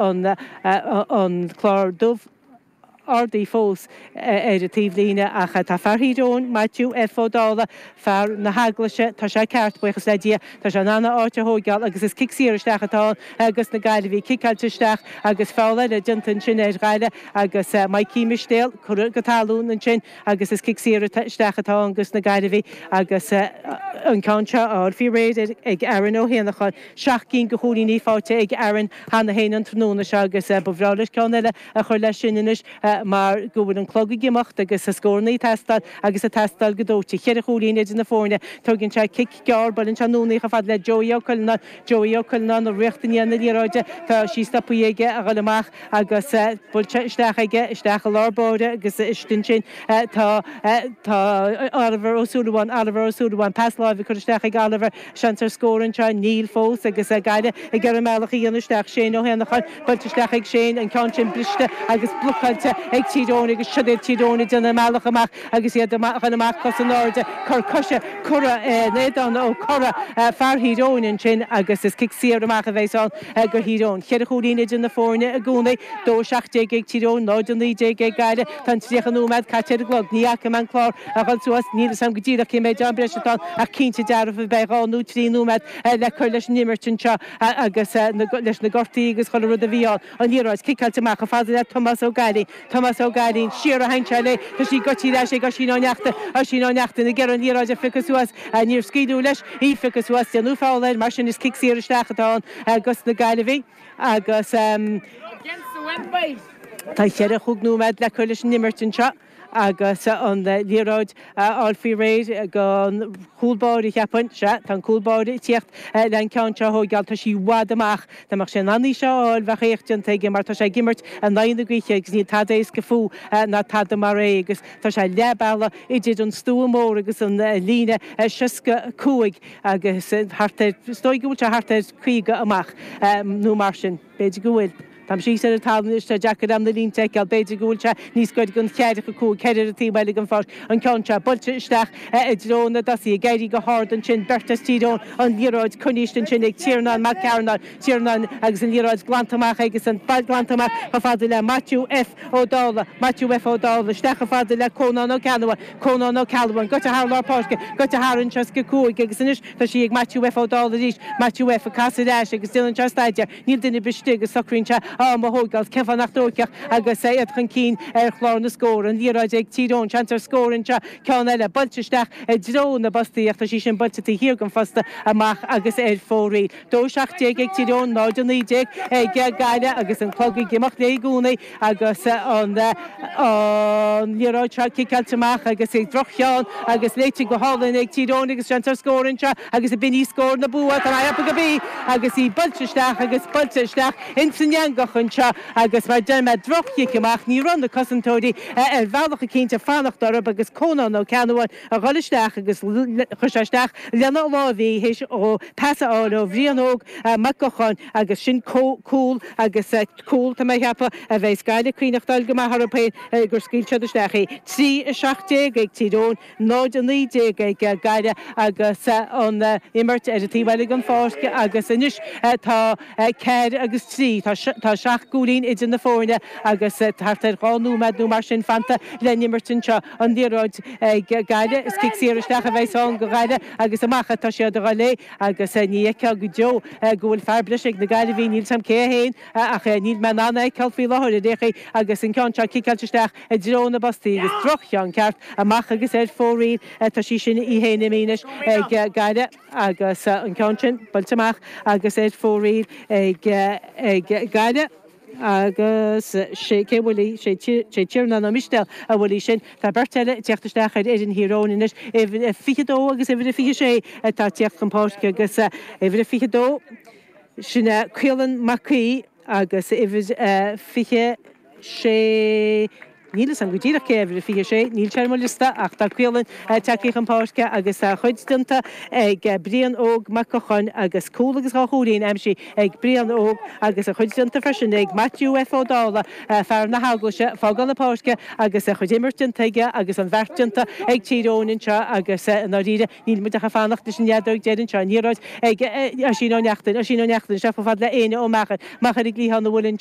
An clár dubh ardaithe fós ar an taobhlíne ach tá fear Thír Eoghain, Maitiú F. Ó Dálaigh, fear na hEaglaise, tá sé ceart, buíochas le Dia, tá sé in ann a áit a thóigeáil agus is cic saor isteach atá ann agus na Gaillimhigh ciceáilte isteach agus feall eile déanta ansin ar Ghaillimh agus Mikey Mistéil curtha go talún ansin. Agus is cic saor isteach atá ann dos na Gaillimhigh agus an ceann seo á fháil faoi réir ag Aaron Ó hÉanacháin. 7 gcinn de chúilíní faighte ag Aaron cheana féin an tráthnóna seo agus ba bhreá leis ceann eile a chur leis sin anois mar go bhfuil an clog ag imeacht agus scóranna ag teastáil agus ag teastáil go dóite. Cheithre chúilín idir na foirne. Tóigeann sé cic gearr, buaileann sé anonn í chomh fada le Joey Ó Cuileanáin. Joey Ó Cuileanáin ag rith i ndiaidh na liathróide. Tá sí stoptha aige a dhul amach. Agus buailte isteach aige, isteach i lár báire agus istigh ansin tá, tá Oliver Ó Súilleabháin, Oliver Ó Súilleabháin, pas láimhe curtha isteach ag Oliver, seans ar scór anseo, níl fós agus Gaillimh ag iarraidh a mbealach a dhéanamh isteach, Shane Ó hÉanacháin, buailte isteach ag Shane, an ceann sin briste agus blocáilte ag Tír Eoghain agus siod iad Tír Eoghain ag déanamh a mbealach amach agus iad ag dul amach cos in airde, cor coise curtha in éadan Ó Corra, fear Thír Eoghain ansin agus is cic saor amach a bheas ann. Do Thír Eoghain. Cheithre chúilín idir na foirne i gcónaí, 2-17 ag Tír Eoghain, 0-19 ag Gaillimh. Tá an 30 nóiméad caite ar an gclog. Ní fhaca mé an clár a dhul suas, níl a fhios agam go díreach cé méid am breise atá ann ach cinnte dearfa beidh dhá nó trí nóiméad le cur leis an imirt anseo agus leis na gortaí agus chuile rud a bhí ann. An liathróid ciceáilte amach chomh fada le Tomás Ó Gailín. Tomás Ó Gailín, siar a sheinn sé léi, tá sí goití ar ais ag Oisín Ó Neachtain, Oisín Ó Neachtain ag iarraidh an liathróid a phiocadh suas, níor scaoileadh leis í a phiocadh suas, déanadh feall air, mar sin is cic saor isteach atá ann dos na Gaillimhigh agus tá cheithre chúig nóiméad le cur leis an imirt anseo agus an liathróid á fháil faoi réir ag an chúl báire, cheapfainn. Sea, tá an cúl báire ag tíocht le an ceann seo a thóigeáil. Tá sí i bhfad amach. Dá mbeadh sé in ann í seo a fháil, bheadh éacht déanta aige mar tá sé ag imirt in aghaidh na gaoithe agus níl tada éasca fúthu ná tada mar é agus tá sé leath bealaigh idir an stua mór agus an líne 65 agus thart ar, is dóigh go bhfuil sé thart ar 50 amach nó mar sin. B'fhéidir go bhfuil. Táim síos ar an talamh anois, tá deacair agam na línte a fheiceáil, b'fhéidir go bhfuil sé níos gaire don cheathracha cúig, ceithre ar an taobh eile den pháirc, an ceann seo buailte isteach i dtreo na dtosaithe, ag éirí go hard ansin, beirt as Tír Eoghain, an liathróid coinnithe ansin ag Tiarnán Mac Cearnáin, Tiarnán agus an liathróid glanta amach aige san, glanta amach chomh fada le Maitiú F. Ó Dálaigh, Maitiú F. Ó Dálaigh, isteach chomh fada le Cónán Ó Ceannabháin, Cónán Ó Ceallabháin, goite thar lár páirce, goite thar an 65 agus anois tá sí ag Maitiú F. Ó Dálaigh arís, Maitiú F. ag casadh ar ais agus déanann sé staidéar. Níl duine ar bith istigh agus socraíonn sé am a thóigeáil. Cén fáth nach dtóigfeadh agus iad chun cinn ar chlár na scór? An liathróid ag Tír Eoghain. Seans ar scór anseo. Ceann eile buailte isteach i dtreo na bpostaí ach tá sí sin buailte taobh thiar den phosta amach agus ar fóraoil. 2-17 ag Tír Eoghain, 0-19 ag Gaillimh agus an clog ag imeacht léi i gcónaí agus an liathróid seo ciceáilte amach agus droch-cheann agus léite go hálainn ag Tír Eoghain agus seans ar scór anseo agus ab in í scór na bua, tá mé ag ceapadh gurb í agus í buailte isteach agus buailte isteach ins an eangach anseo agus mar deir mé droch-chic amach, ní raibh na cosantóirí ar bhealach eicínt ag fanacht orthu agus Cónán Ó Ceannabháin a dhul isteach agus chuir sé isteach lena láimh í théis dhó pas a fháil ó Bhrian Óg Mac Gocháin agus sin cúl agus cúl, tá mé a cheapadh, a bheas Gaillimh ag cuimhneachtáil go maith orthu féin gur scaoil siad isteach í. 3, 17 ag Tír Eoghain, 0, 19 ag Gaillimh agus an imirt ar an taobh eile den pháirc agus anois tá 4 agus 3, tá seacht gcúilín idir na foirne agus thart ar dhá nóiméad nó mar sin fanta le n-imirt anseo. An liathróid ag Gaillimh, is cic saor isteach a bheas ann do Ghaillimh agus amach atá siad a dhul léi agus ní fheicfeá go deo go bhfuil fear breise ag na Gaillimhigh, níl 's a'm cé é féin ach níl mé in ann é a fheiceáil faoi láthair ar aon chaoi agus an ceann seo ciceáilte isteach i dtreo na bpostaí agus droch-cheann ceart amach agus ar fóraoil tá sí sin í féin imithe anois ag Gaillimh agus an ceann sin buailte amach agus ar fóraoil ag Gaillimh agus sé cé a bhuail í, sé Tiarnán Ó Mistéil a bhuail í sin. Tá beirt eile ag teacht isteach ar fhoireann Thír Eoghain anois, uimhir a 22 agus uimhir a 26 atá ag teacht chun páirce agus uimhir a 22, sin é Caolan Mac Aoidh agus uimhir a 26. Níl fhios agam go díreach cé uimhir a 26, níl sé ar mo liosta ach tá Caolann tagtha chun páirce agus a chuid déanta ag Brian Óg Mac Locháin agus cúl agus 2 chúilín aimsithe ag Brian Óg agus a chuid déanta freisin ag Maitiú F Ó Dálaigh, fear na hEaglaise, fágáil na páirce agus a chuid imirt déanta aige agus an bheart déanta ag Tír Eoghain anseo agus i ndáiríre níl muid ach ag fanacht leis an fheadóg deiridh anseo. An liathróid ag Oisín Ó Neachtain, Oisín Ó Neachtain isteach chomh fada le Éanna Ó Meachair, Meachair i gcliathán an mhuilinn.